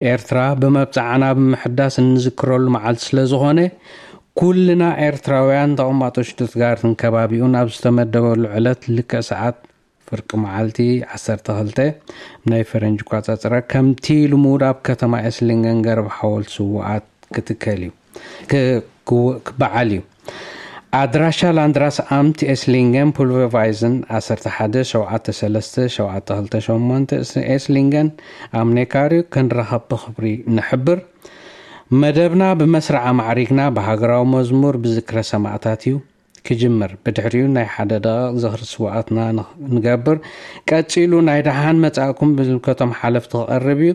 ኤርትራ ብመብጽዓና ብምሕዳስ እንዝክረሉ መዓልቲ ስለ ዝኾነ፣ ኩልና ኤርትራውያን ተቐማጦ ሽቱትጋርትን ከባቢኡን ኣብ ዝተመደበሉ ዕለት ልክዕ ሰዓት ፍርቂ መዓልቲ ዓሰርተ ክልተ ናይ ፈረንጂ ኣቆጻጽራ፣ ከምቲ ልሙድ ኣብ ከተማ ኤስሊንገን ገረብ ሓወልቲ ስውኣት ክትከል እዩ፣ ክ-፣ ክው-፣ ክበዓል እዩ። ኣድራሻ ላንድራስ ኣምት ኤስሊንገን ፑልቨቫይዝን ዓሰርተ ሓደ ሸውዓተ ሰለስተ ሸውዓተ ክልተ ሸሞንተ ኤስሊንገን ኣምኔካሪ ክንራኸብ ብኽብሪ ንሕብር። መደብና ብመስርዕ ኣማዕሪግና ብሃገራዊ መዝሙር ብዝክረ ሰማእታት እዩ ክጅምር። ብድሕሪኡ ናይ ሓደ ደቂቕ ዝኽሪ ስውኣትና ንኽ-፣ ንገብር። ቀጺሉ ናይ ደሓን መጻእኩም ብዝምልከቶም ሓለፍቲ ክቐርብ እዩ።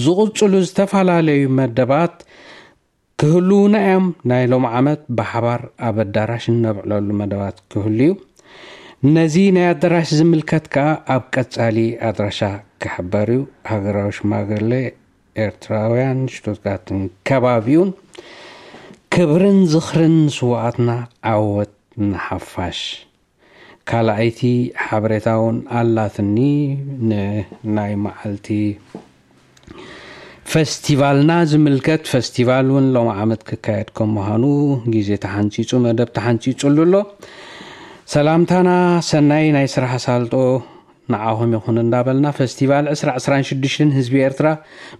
ዝቕጽሉ ዝተፈላለዩ መደባት ክህልዉና እዮም። ናይ ሎም ዓመት ብሓባር ኣብ ኣዳራሽ እነብዕለሉ መደባት ክህሉ እዩ። ነዚ ናይ ኣዳራሽ ዝምልከት ከኣ ኣብ ቀጻሊ ኣድራሻ ክሕበር እዩ። ሃገራዊ ሽማግሌ ኤርትራውያን ሽቱትጋርትን ከባቢኡን። ክብርን ዝኽርን ስውኣትና፣ ዓወት ንሓፋሽ። ካልኣይቲ ሓበሬታ እውን ኣላትኒ፣ ንናይ መዓልቲ ፈስቲቫልና ዝምልከት። ፈስቲቫል እውን ሎም ዓመት ክካየድ ከም ምዃኑ ግዜ ተሓንጺጹ፣ መደብ ተሓንጺጹሉ ኣሎ። ሰላምታና ሰናይ ናይ ስራሕ ኣሳልጦ ንዓኹም ይኹን እንዳበልና፣ ፈስቲቫል ዕስራ ዕስራን ሽዱሽተን ህዝቢ ኤርትራ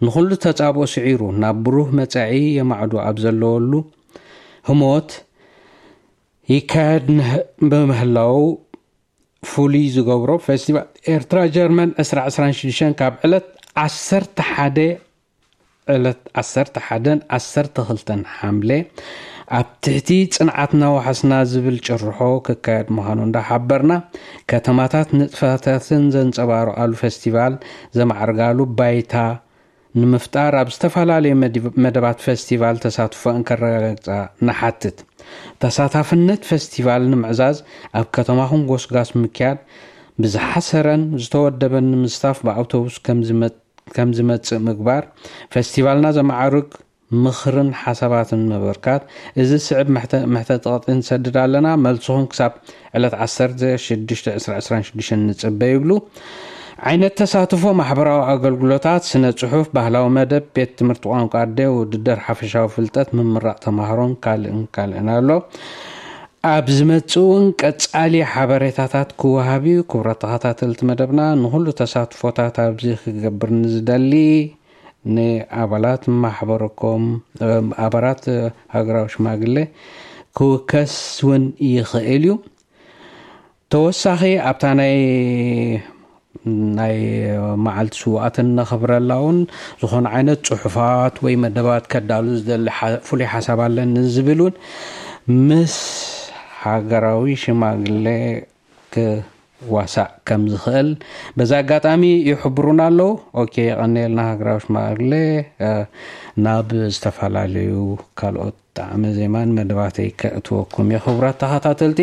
ንኹሉ ተጻብኦ ስዒሩ ናብ ብሩህ መጻኢ የማዕዱ ኣብ ዘለወሉ ህሞት ይካየድ ንህ-፣ ብምህላው ፍሉይ ዝገብሮ፣ ፈስቲቫል ኤርትራ ጀርመን ዕስራ ዕስራን ሽዱሽተን ካብ ዕለት ዓሰርተ ሓደ ዕለት ዓሰርተ ሓደን ዓሰርተ ክልተን ሓምለ ኣብ ትሕቲ ጽንዓትና ዋሕስና ዝብል ጭርሖ ክካየድ ምዃኑ እንዳሓበርና፣ ከተማታት ንጥፈታትን ዘንጸባርቓሉ ፈስቲቫል ዘማዕርጋሉ ባይታ ንምፍጣር ኣብ ዝተፈላለዩ መዲ-፣ መደባት ፈስቲቫል ተሳትፎ እንከረጋግጻ ንሓትት። ተሳታፍነት ፈስቲቫል ንምዕዛዝ ኣብ ከተማኹም ጎስጋስ ምክያድ፣ ብዝሓሰረን ዝተወደበን ንምስታፍ ብኣውቶቡስ ከም ዝመ-፣ ከም ዝመጽእ ምግባር፣ ፈስቲቫልና ዘማዕርግ ምኽርን ሓሳባትን ምብርካት። እዚ ዝስዕብ ምሕተ-፣ መሕተቲ ቐጥዒ ንሰድድ ኣለና። መልስኹም ክሳብ ዕለት ዓሰርተ ሽዱሽተ ዕስራ ዕስራን ሽዱሽተን ንጽበ ይብሉ። ዓይነት ተሳትፎ፣ ማሕበራዊ ኣገልግሎታት፣ ስነ ጽሑፍ፣ ባህላዊ መደብ፣ ቤት ትምህርቲ ቋንቋ ኣደ፣ ውድድር ሓፈሻዊ ፍልጠት፣ ምምራቕ ተማሃሮን ካልእን ካልእን ኣሎ። ኣብ ዝመጽእ እውን ቀጻሊ ሓበሬታታት ክወሃብ እዩ። ክቡራት ተኸታተልቲ መደብና፣ ንኹሉ ተሳትፎታት ኣብዚ ክገብር ንዝደሊ ንኣባላት ማሕበረኮም፣ ኣባላት ሃገራዊ ሽማግሌ ክውከስ እውን ይኽእል እዩ። ተወሳኺ ኣብታ ናይ፣ ናይ መዓልቲ ስውኣትን ነኽብረላ እውን ዝኾነ ዓይነት ጽሑፋት ወይ መደባት ከዳሉ ዝደሊ ሓ-፣ ፍሉይ ሓሳብ ኣለኒ ዝብል እውን ምስ ሃገራዊ ሽማግሌ ክዋሳእ ከም ዝኽእል በዚ ኣጋጣሚ ይሕብሩና ኣለዉ። ኦኬ፣ የቐንየልና ሃገራዊ ሽማግሌ። እ፣ ናብ ዝተፈላለዩ ካልኦት ጣዕመ ዜማን መደባተይ ከእትወኩም እየ፣ ክቡራት ተኸታተልቲ።